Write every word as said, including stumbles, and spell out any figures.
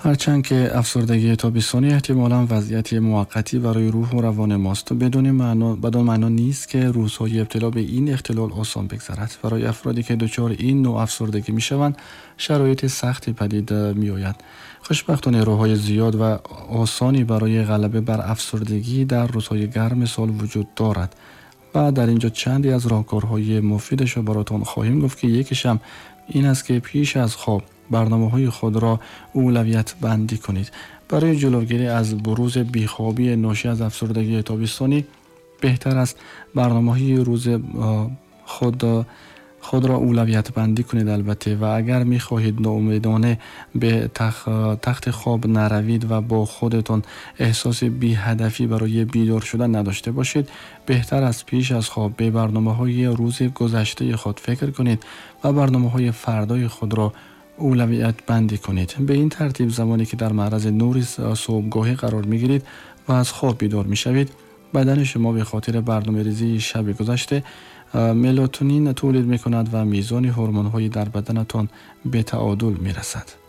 ҳарчанд ки афсурдагии тобистонӣ эҳтимолан вазъияти муваққатӣ барои рӯҳу равони мост, бидуни маъно бадон маъно нест, ки рӯзҳои ибтило ба ин ихтилол осон бигзарад. Барои афроде ки дучори ин навъ афсурдагӣ мешаванд, шароити сахти падид меояд. Хушбахтона, роҳҳои зиёд ва осоне барои ғалаба бар афсурдагӣ дар рӯзҳои гарми сол вуҷуд дорад ва дар инҷо чанде аз роҳкорҳои муфидашро баротон хоҳем гуфт, ки якеш ҳам ин аст, ки пеш аз хоб барномаҳои худро улавият бандӣ кунед. Барои ҷилавгирӣ аз бурузи бехобӣ ношӣ аз афсурдагии тобистонӣ, беҳтар аст барномаҳои рӯз худ худро улавият бандӣ кунед албатта. Ва агар мехоҳед ноумедона ба тахти хоб наравед ва бо худатон эҳсоси беҳадафӣ барои бедор шудан надошта бошед, беҳтар аст пеш аз хоб ба барномаҳои рӯзи гузаштаи худ фикр кунед ва барномаҳои фардои худро улавият бандӣ кунед. Ба ин тартиб, замоне ки дар маърази нури субҳгоҳӣ қарор мегиред ва аз хоб бедор мешавед, бадани шумо ба хотири барномарезии шаби гузашта мелатонин тولید میکند و میزان هورمون‌های در بدنتان به تعادل میرسد.